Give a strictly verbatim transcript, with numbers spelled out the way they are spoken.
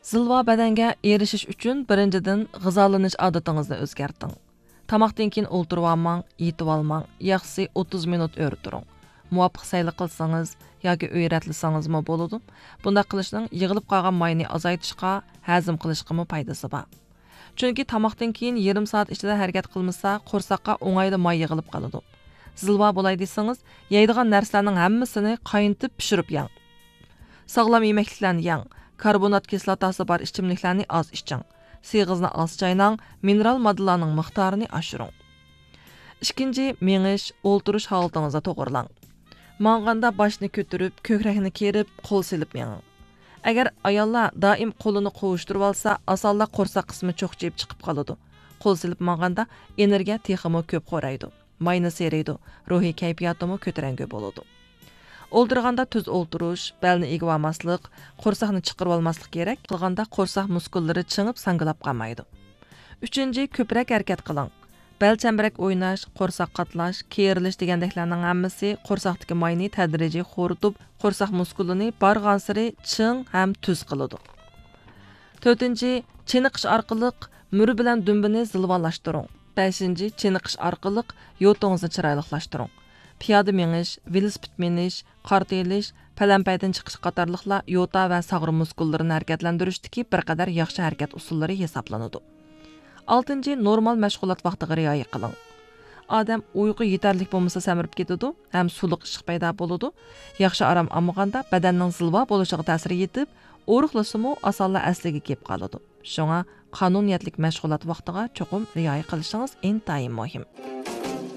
زىلۋا بەدەنگە ئېرىشىش ئۈچۈن بىرىنچىدىن غىزالىنىش ئادىتىڭىزنى ئۆزگەرتىڭ. تاماقتىن كېيىن ئولتۇرۇۋالماڭ، يېتىۋالماڭ، ياخشىسى ئوتتۇز مىنۇت ئۆرە تۇرۇڭ. مۇۋاپىق سەيلە قىلسىڭىز ياكى ئۆيرەتلىسىڭىزمۇ بولىدۇ. بۇنداق قىلىشنىڭ يىغىلىپ قالغان ماينى ئازايتىشقا، ھەزىم قىلىشقىمۇ پايدىسى بار. چۈنكى تاماقتىن كېيىن يېرىم سائەت ئىچىدە ھەرىكەت قىلمىسا، قورساققا ئوڭايلا ماي يىغىلىپ قالىدۇ. زىلۋا بولاي دېسىڭىز، يەيدىغان نەرسىلەرنىڭ ھەممىسىنى قاينىتىپ پىشۇرۇپ يەڭ. ساغلام يېمەكلىكلەرنى يەڭ. كاربونات كىسلاتاسى بار ئىچىملىكلەرنى ئاز ئىچىڭ. سېغىزنى ئاز چايناڭ، مىنېرال ماددىلارنىڭ مىقدارىنى ئاشۇرۇڭ. ئىككىنچى، مېڭىش، ئولتۇرۇش ھالىتىڭىزنى توغرىلاڭ. ماڭغاندا باشنى كۆتۈرۈپ، كۆكرەكنى كېرىپ، قول سېلىپ مېڭىڭ. ئەگەر ئاياللار دائىم قولىنى قوۋۇشتۇرۇۋالسا، ئاسانلا قورساق قىسمى چوقچىيىپ چىقىپ قالىدۇ. قول سېلىپ ماڭغاندا ئېنېرگىيە تېخىمۇ كۆپ خورايدۇ. ماينى سېرىيدۇ، روھىي كەيپىياتىمۇ كۆتۈرەڭگۈ بولىدۇ. ئولتۇرغاندا تۈز ئولتۇرۇش، بەلنى ئېگىۋالماسلىق، قورساقنى چىقىرىۋالماسلىق كېرەك. قىلغاندا قورساق مۇسكۇللىرى چىڭىپ ساڭگىلاپ قالمايدۇ. ئۈچىنچى، كۆپرەك ھەرىكەت قىلىڭ. بەل چەمبىرەك ئويناش، قورساق قاتلاش، كېرىلىش دېگەندەكلەرنىڭ ھەممىسى قورساقتىكى ماينى تەدرىجىي خورىتىپ، قورساق مۇسكۇلىنى بارغانسېرى چىڭ ھەم تۈز قىلىدۇ. تۆتىنچى، چېنىقىش ئارقىلىق مۈرە بىلەن دۈمبىنى زىلۋالاشتۇرۇڭ. بەشىنچى، چېنىقىش ئارقىلىق يوتىڭىزنى چىرايلىقلاشتۇرۇڭ. پىيادە مېڭىش، ۋېلىسىپىت مىنىش، قارتا ئېلىش، پەلەمپەيدىن چىقىش قاتارلىقلار يوتا ۋە ساغرا مۇسكۇللىرىنى ھەرىكەتلەندۈرۈشتىكى بىر قەدەر ياخشى ھەرىكەت ئۇسۇللىرى ھېسابلىنىدۇ. ئالتىنچى، نورمال مەشغۇلات ۋاقتىغا رىئايە قىلىڭ. ئادەم ئۇيقۇ يېتەرلىك بولمىسا سەمرىپ كېتىدۇ ھەم سۇلۇق ئىششىق پەيدا بولىدۇ. ياخشى ئارام ئالمىغاندا بەدەننىڭ زىلۋا بولۇشىغا تەسىرى يېتىپ، ئورۇقلىسىمۇ ئاسانلا ئەسلىگە كېلىپ قالىدۇ. شۇڭا قانۇنىيەتلىك مەشغۇلات ۋاقتىغا چوقۇم رىئايە قىلىشىڭىز ئىنتايىن مۇھىم.